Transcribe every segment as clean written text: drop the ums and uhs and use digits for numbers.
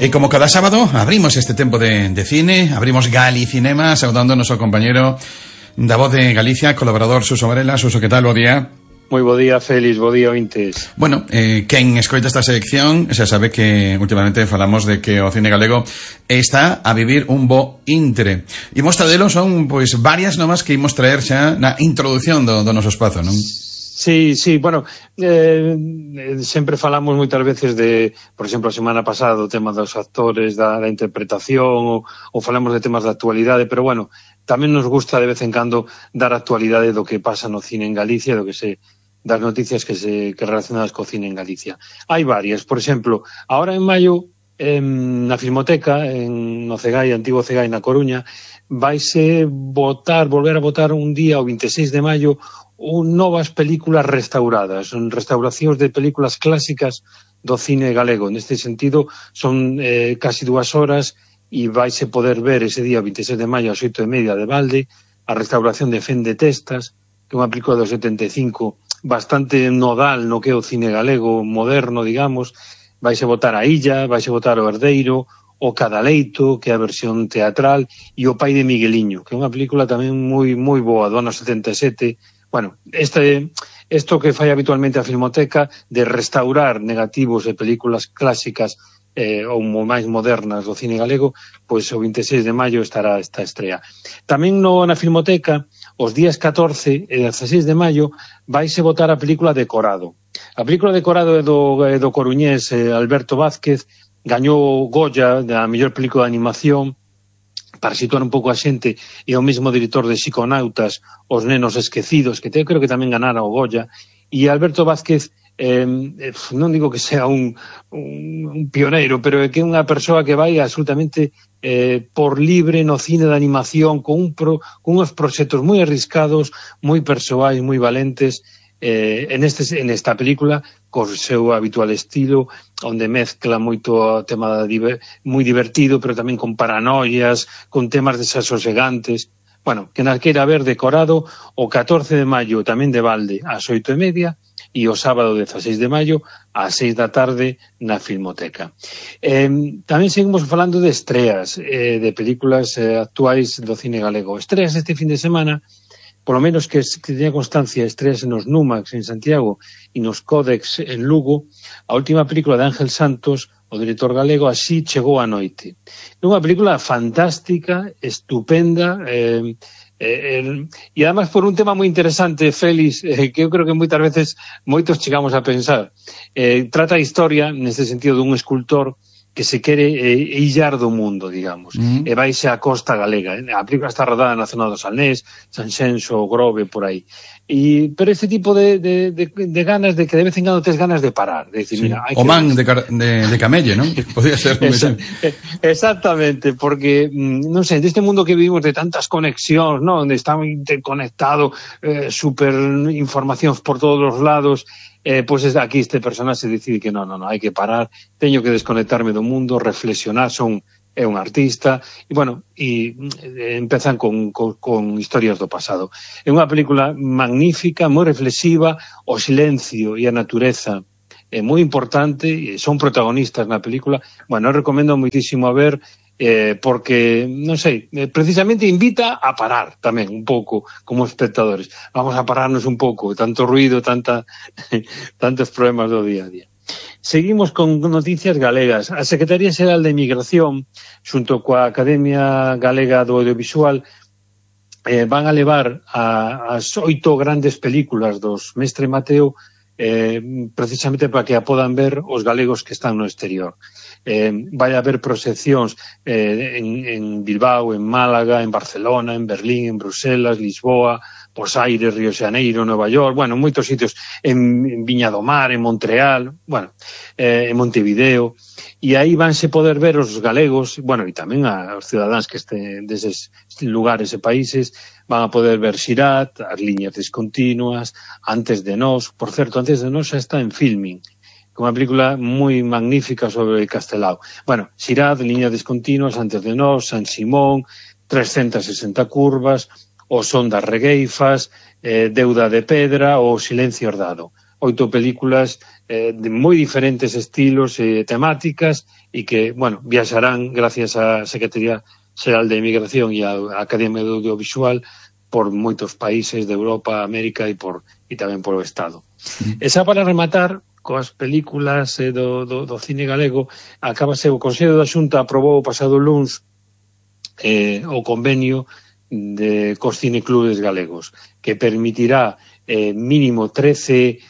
E como cada sábado abrimos este tempo de cine, abrimos Galicinema, saudando ao noso compañero da Voz de Galicia, colaborador Suso Varela. Suso, que tal? Bo día. Moi bo día, Félix, bo día, ointes. Bueno, quen escoita esta sección xa sabe que últimamente falamos de que o cine galego está a vivir un bo intre. E mostradelo son, pois, varias nomas que imos traer xa na introducción do noso espazo, non? Sí, bueno, sempre falamos moitas veces de, por exemplo, a semana pasada, o tema dos actores, da interpretación, ou falamos de temas de actualidade, pero bueno, tamén nos gusta de vez en cando dar actualidade do que pasa no cine en Galicia, das noticias que relacionadas co cine en Galicia. Hai varias, por exemplo, ahora en maio, na Filmoteca, no Cegai, antigo Cegai na Coruña, vaise volver a votar un día, o 26 de maio, novas películas restauradas, son restauracións de películas clásicas do cine galego. Neste sentido, son casi 2 horas e vaise poder ver ese día, 26 de maio, ás 8:30 de balde, a restauración de Fen de Testas, que é unha película do 75 bastante nodal no que é o cine galego moderno, digamos. Vaise votar a Illa, vaise votar o Herdeiro, o Cadaleito, que é a versión teatral, e o Pai de Migueliño, que é unha película tamén moi boa, do ano 77. Bueno, isto que fai habitualmente a Filmoteca de restaurar negativos de películas clásicas ou máis modernas do cine galego, pois o 26 de maio estará esta estrea. Tamén na Filmoteca, os días 14 e 16 de maio, vaise votar a película Decorado. A película Decorado é do coruñés Alberto Vázquez, gañou Goya da mellor película de animación, para situar un pouco a xente, e o mesmo director de Psiconautas, Os nenos esquecidos, que creo que tamén ganara o Goya, e Alberto Vázquez, non digo que sea un pioneiro, pero é que é unha persoa que vai absolutamente por libre no cine de animación, con uns proxectos moi arriscados, moi persoais, moi valentes, en esta película, co seu habitual estilo, onde mezcla moito o tema moi divertido, pero tamén con paranoias, con temas desasosegantes. Bueno, que nas queira ver Decorado o 14 de maio tamén de balde ás 8:30 e o sábado 16 de maio ás 6 da tarde na Filmoteca. Tamén seguimos falando de estreas de películas actuais do cine galego. Estreas este fin de semana, polo menos que teña constancia, estreas nos Numax en Santiago e nos Códex en Lugo. A última película de Ángel Santos, o director galego, Así chegou a noite. É unha película fantástica, estupenda, e además por un tema moi interesante, Félix, que eu creo que moitas veces moitos chegamos a pensar. Trata a historia, neste sentido, dun escultor que se quere illar do mundo, digamos, e vaise á costa galega. A película está rodada na zona do Salnés, Sanxenxo, Grove, por aí. Pero este tipo de ganas de que de vez en cando tes ganas de parar, de decir, sí. Mira, o man de Camelle, non? Podría ser exactamente, porque non sei, deste mundo que vivimos de tantas conexións, non, onde está interconectado, super informacións por todos os lados, pois aquí este personaxe decide que non, hai que parar, teño que desconectarme do mundo, reflexionar, é un artista, e bueno, empezan con historias do pasado. É unha película magnífica, moi reflexiva, o silencio e a natureza é moi importante, son protagonistas na película. Bueno, eu recomendo moitísimo a ver, porque, non sei, precisamente invita a parar tamén un pouco como espectadores. Vamos a pararnos un pouco, tanto ruido, tantos problemas do día a día. Seguimos con noticias galegas. A Secretaría Xeral de Migración, xunto coa Academia Galega do Audiovisual, van a levar as 8 grandes películas dos Mestre Mateo, precisamente para que a podan ver os galegos que están no exterior. Vai haber proxeccións en Bilbao, en Málaga, en Barcelona, en Berlín, en Bruselas, Lisboa, Buenos Aires, Río de Janeiro, Nova York, bueno, moitos sitios, en Viña do Mar, en Montreal, bueno, en Montevideo, e aí vanse poder ver os galegos, bueno, e tamén os cidadáns que estén deses lugares e países, van a poder ver Xirat, As liñas descontinuas, Antes de nós. Por certo, Antes de nós xa está en filming, que é unha película moi magnífica sobre Castelao. Bueno, Xirat, Liñas descontinuas, Antes de nós, San Simón, 360 curvas, O son das regueifas, Deuda de pedra ou Silencio herdado. 8 películas de moi diferentes estilos e temáticas e que, bueno, viaxarán gracias á Secretaría Xeral de Emigración e á Academia de Audiovisual por moitos países de Europa, América e tamén por o Estado. E xa para rematar coas películas do cine galego, acabase o Consello da Xunta aprobou o pasado luns o convenio cos cineclubes galegos, que permitirá mínimo 13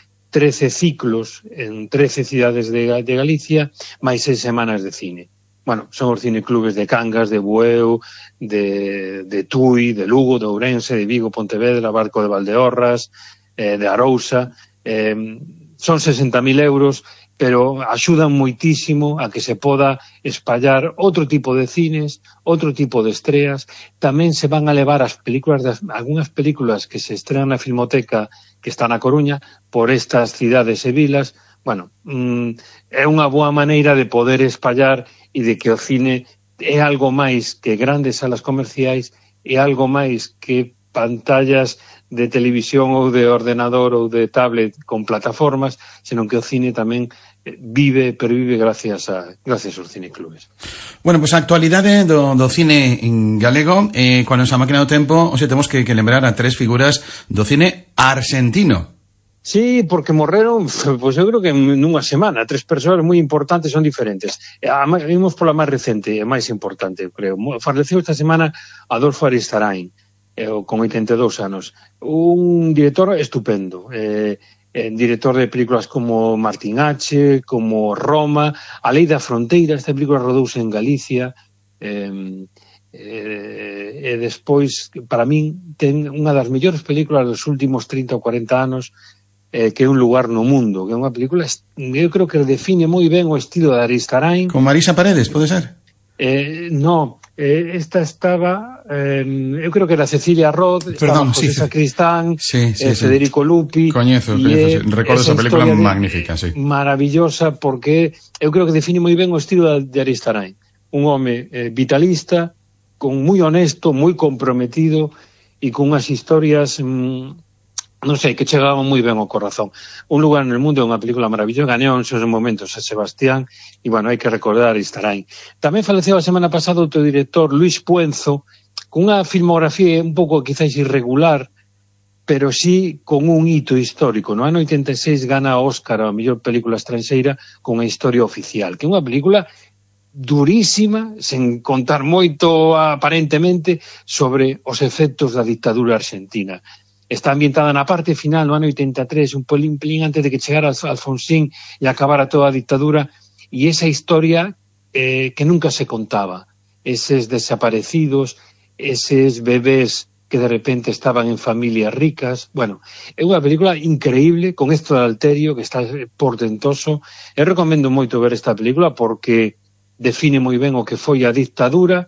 ciclos en 13 cidades de Galicia, máis 6 semanas de cine. Bueno, son os cineclubes de Cangas, de Bueu, de Tui, de Lugo, de Ourense, de Vigo, Pontevedra, Barco de Valdeorras, de Arousa. Son 60.000 euros, pero axudan moitísimo a que se poda espallar outro tipo de cines, outro tipo de estreas. Tamén se van a levar as películas, algunhas películas que se estrenan na Filmoteca, que está na Coruña, por estas cidades e vilas. Bueno, é unha boa maneira de poder espallar e de que o cine é algo máis que grandes salas comerciais, é algo máis que pantallas de televisión ou de ordenador ou de tablet con plataformas, senón que o cine tamén pervive gracias aos cineclubes. Bueno, pues a actualidade do cine en galego, cuando nos máquina do tempo, temos que lembrar a 3 figuras do cine argentino. Sí, porque morreron, pois eu creo que nunha semana, 3 persoas moi importantes, son diferentes. Vimos pola máis recente, e máis importante, creo. Faleceu esta semana Adolfo Aristarain, con 82 anos. Un director estupendo, director de películas como Martín H, como Roma, A Lei da Fronteira, esta película rodouse en Galicia, e despois, para min, ten unha das mellores películas dos últimos 30 ou 40 anos, que é Un lugar no mundo, que é unha película, eu creo que define moi ben o estilo de Aristarain. Con Marisa Paredes, pode ser? No, esta estaba, eu creo que era Cecilia Roth, Perdón, José Sacristán, sí. Federico Lupi. Coñezo, recordo esa película magnífica, sí. Maravillosa, porque eu creo que define moi ben o estilo de Aristarain. Un home vitalista, moi honesto, moi comprometido e con unhas historias non sei, que chegaban moi ben ao corazón. Un lugar no mundo é unha película maravillosa, gañou en seus momentos a Sebastián, e, bueno, hai que recordar Aristarain. Tamén faleceu a semana pasada outro director, Luis Puenzo, con unha filmografía un pouco quizás irregular, pero sí con un hito histórico. No ano 86 gana Óscar a mellor película estranxeira con A historia oficial, que é unha película durísima, sen contar moito aparentemente, sobre os efectos da dictadura argentina. Está ambientada na parte final, no ano 83, un pelín antes de que chegara Alfonsín e acabara toda a dictadura, e esa historia que nunca se contaba. Eses desaparecidos, eses bebés que de repente estaban en familias ricas. Bueno, é unha película increíble, con esto de Alterio, que está portentoso. Eu recomendo moito ver esta película porque define moi ben o que foi a dictadura,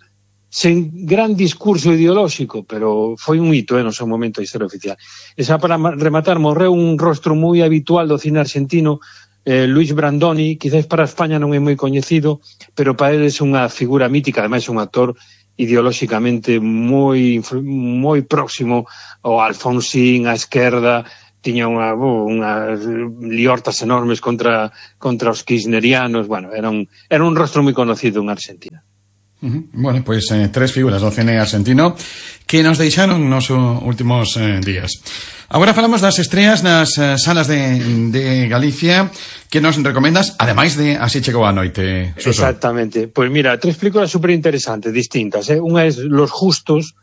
sen gran discurso ideolóxico, pero foi un hito no seu momento a historia oficial. E xa para rematar, morreu un rostro moi habitual do cine argentino, Luis Brandoni, quizás para España non é moi coñecido, pero para ele é unha figura mítica, ademais é un actor ideolóxicamente moi próximo ao Alfonsín, á esquerda, tiña unhas liortas enormes contra os kirchnerianos. Bueno, era un rostro moi conocido en Argentina. Bueno, pois 3 figuras do cine argentino que nos deixaron nos últimos días. Agora falamos das estreas nas salas de Galicia que nos recomendas, ademais de Así chegou a noite, Suso. Exactamente. Pois mira, 3 películas super interesantes, distintas. Unha é Los Justos,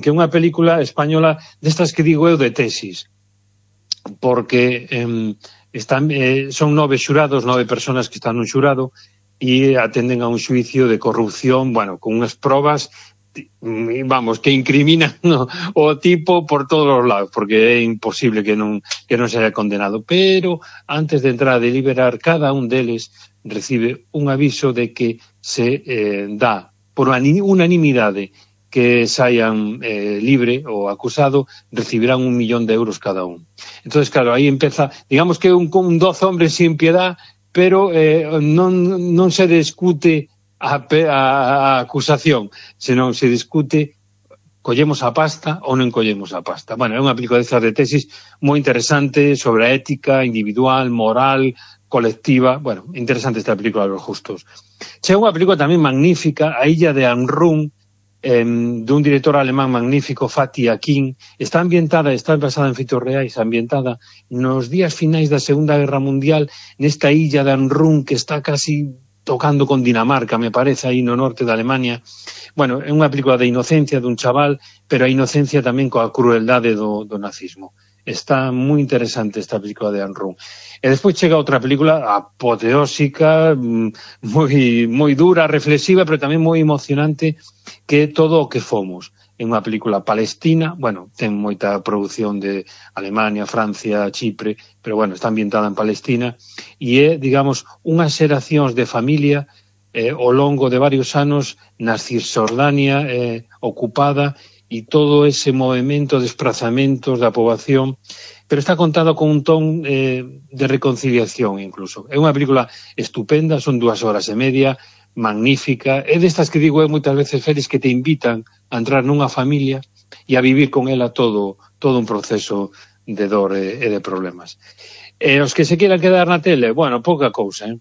que é unha película española destas que digo eu de tesis, porque son 9 xurados, 9 personas que están nun xurado, e atenden a un xuicio de corrupción, bueno, con unhas probas, vamos, que incriminan o tipo por todos os lados, porque é imposible que non se haya condenado. Pero antes de entrar a deliberar, cada un deles recibe un aviso de que se dá por unanimidade que saian libre o acusado, recibirán 1 millón de euros cada un. Entonces, claro, aí empeza, digamos que un 12 hombres sin piedad, pero non se discute a acusación, senón se discute collemos a pasta ou non collemos a pasta. Bueno, é unha película destas de tesis moi interesante sobre a ética individual, moral, colectiva. Bueno, interesante esta película dos justos. Chega unha película tamén magnífica, A Illa de Amrún, dun director alemán magnífico, Fatih Akin. Está basada en feitos reais, ambientada nos días finais da Segunda Guerra Mundial, nesta illa de Amrún que está casi tocando con Dinamarca, me parece, aí no norte de Alemania. Bueno, é unha película de inocencia dun chaval, pero a inocencia tamén coa crueldade do nazismo. Está moi interesante esta película de Amrún. E despois chega outra película apoteósica, moi dura, reflexiva, pero tamén moi emocionante, que é Todo o que fomos. É unha película palestina, bueno, ten moita produción de Alemania, Francia, Chipre, pero bueno, está ambientada en Palestina, e é, digamos, unhas xeracións de familia ao longo de varios anos na Cisjordania ocupada, e todo ese movimento, desplazamentos da poboación, pero está contado con un ton de reconciliación incluso. É unha película estupenda, son 2 horas e media, magnífica, é destas que digo moitas veces, Félix, que te invitan a entrar nunha familia e a vivir con ela todo un proceso de dor e de problemas. E os que se quieran quedar na tele, bueno, pouca cousa,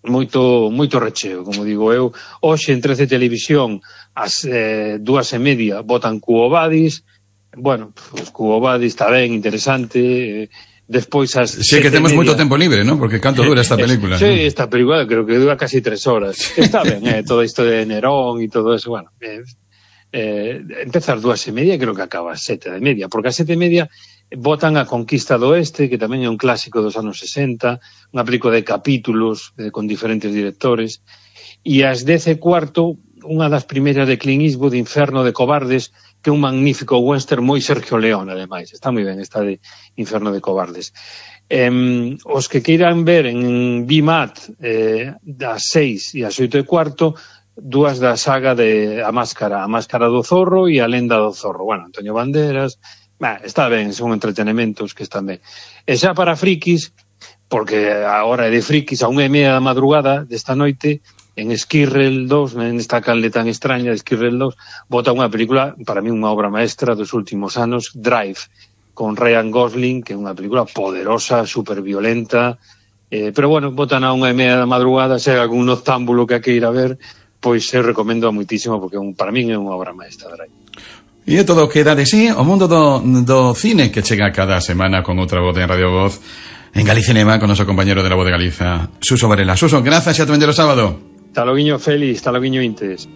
moito recheo, como digo eu. Hoxe en 13 Televisión as 2:30 botan Quo Vadis. Bueno, pues Quo Vadis está ben, interesante. Despois as sí, que temos moito tempo libre, ¿no? Porque canto dura esta película. Sí, ¿no? Esta película creo que dura casi 3 horas. Está ben, todo isto de Nerón e todo eso, bueno. Empeza ás 2:30, creo que acaba ás 7:30, porque ás 7:30 botan A Conquista do Oeste, que tamén é un clásico dos anos 60, unha película de capítulos con diferentes directores, e ás 10:15, unha das primeiras de Clint Eastwood, Inferno de Cobardes, que é un magnífico western moi Sergio Leone, ademais. Está moi ben esta de Inferno de Cobardes. Os que queiran ver en BMAT das 6 e as 8:15, 2 da saga de A Máscara do Zorro e A Lenda do Zorro. Bueno, Antonio Banderas, está ben, son entretenimentos que están ben. E xa para frikis, porque a hora é de frikis, a 1:30 da madrugada desta noite, en Esquirrel 2, nesta canle tan extraña de Esquirrel 2, bota unha película, para mí unha obra maestra dos últimos anos, Drive, con Ryan Gosling, que é unha película poderosa, super violenta, pero bueno, botan a 1:30 da madrugada, se hai algún noctámbulo que hai que ir a ver, pois se recomendo moitísimo, porque para mí é unha obra maestra, Drive. E é todo o que dá de sí o mundo do cine, que chega cada semana con outra voz en Radio Voz en Galicinema, con noso compañero de La Voz de Galiza, Suso Varela. Suso, grazas e ata vendelo sábado. Hasta loguiño, Félix, hasta loguiño, Intes.